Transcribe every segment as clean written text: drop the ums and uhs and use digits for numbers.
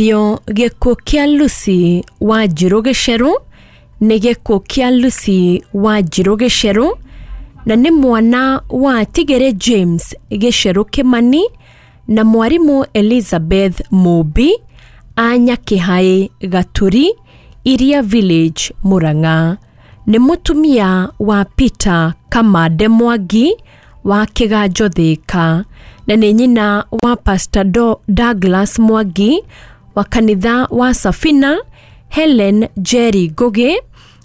Gĩkuũ kĩa Lucy Wanjiru Gicheru nĩ gĩkuũ kĩa Lucy Wanjiru Gicheru na nĩ mwana wa Tigere James Gicheru Kimani na mwarimũ Elizabeth Mũmbi a Nyakĩhaĩ Gaturi, Iria Village, Murang'a. Nĩ mũtumia wa Peter Kamande Mwangi wa Kĩganjo Thĩka na nĩ nyina wa Pastor Douglas Mwangi wa kanitha wa Safina, Helen Jerry Ngugi,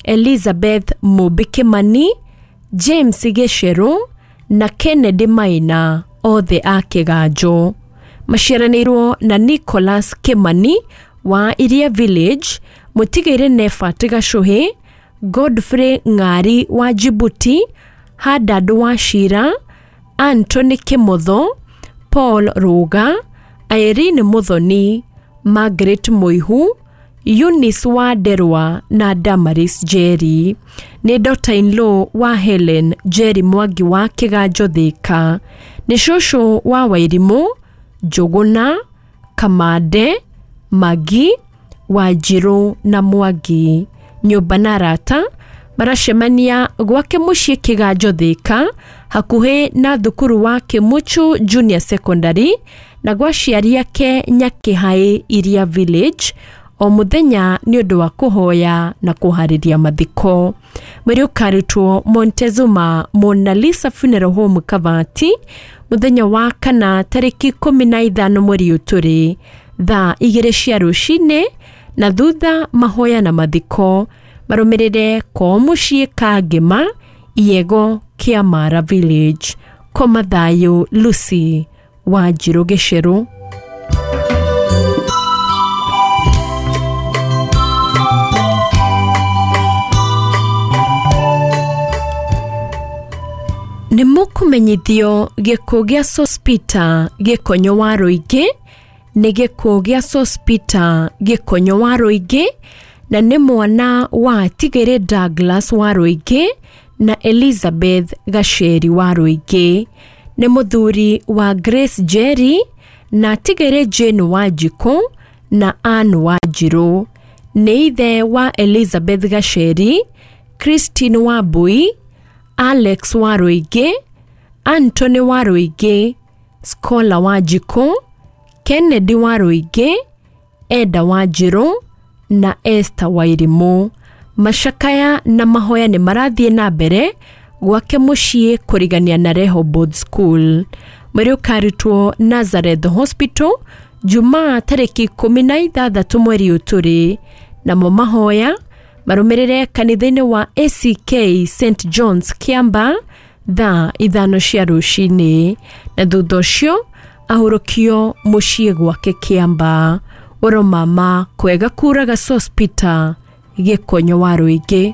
Elizabeth Mũmbi Kimani, James Gicheru na Kennedy Maina, othe a Kĩganjo. Maciaranĩirwo na Nicholas Kimani wa Iria Village, mũtigĩre Nephat Gacuhi, Godfrey Ng'ari wa Djibouti, Hadad Wachira, Anthony Kimotho, Paul Ruga, Irene Muthoni, Margaret Mũihu, Eunice Wanderwa na Damaris Njeri. Nĩ daughter-in-law wa Helen Njeri Mwangi wa Kĩganjo Thĩka. Nĩ cũcũ wa Wairimũ, Njũgũna, Kamande, Magi, Wanjirũ na Mwangi. Nyũmba na arata maracemania gwake mũciĩ Kĩganjo Thĩka hakuhĩ na thukuru wa Kĩmũchũ Junior Secondary na gwa aciari ake Nyakĩhaĩ Iria Village o mũthenya nĩ ũndũ wa kũhoya na kũharĩria mathiko. Mwĩrĩ ũkarutwo Montezuma Mona Lisa Funeral Home Kavati mũthenya wa kana tarĩki 15 mweri ũyũ tũrĩ thaa 2 cia rũcinĩ na thutha mahoya na mathiko marũmĩrĩre kwao mũciĩ Kangema Iego Kĩamara Village. Koma thayũ Lucy Wanjiru Gicheru. Nĩ mũkũmenyithio gĩkuũ gĩa Sospeter Gĩkonyo wa Rũingĩ nĩ gĩkuũ gĩa Sospeter Gĩkonyo wa Rũingĩ na nĩ mwana wa Tigere Douglas wa Rũingĩ na Elizabeth Gacheri wa Rũingĩ. Nĩ mũthuri wa Grace Njeri na Tigere Jane Wanjikũ na Ann Wanjirũ. Nĩ ithe wa Elizabeth Gacheri, Christine Wambui, Alex wa Rũingĩ, Anthony wa Rũingĩ, Scholar Wanjikũ, Kennedy wa Rũingĩ, Eda Wanjirũ na Esther Wairimũ. Macakaya na mahoya nĩ marathiĩ na mbere gwake mũciĩ kũrigania na Rehoboth School. Mwĩrĩ ũkarutwo Nazareth Hospital Jumaa tarĩki 16 mweri ũyũ tũrĩ, namo mahoya marũmĩrĩre kanitha-inĩ wa ACK St John's Kiamba thaa 5 cia rũcinĩ na thutha ũcio ahurũkio mũciĩ gwake Kiamba. Oro mama kwega kuraga Sospeter Gĩkonyo wa Rũingĩ.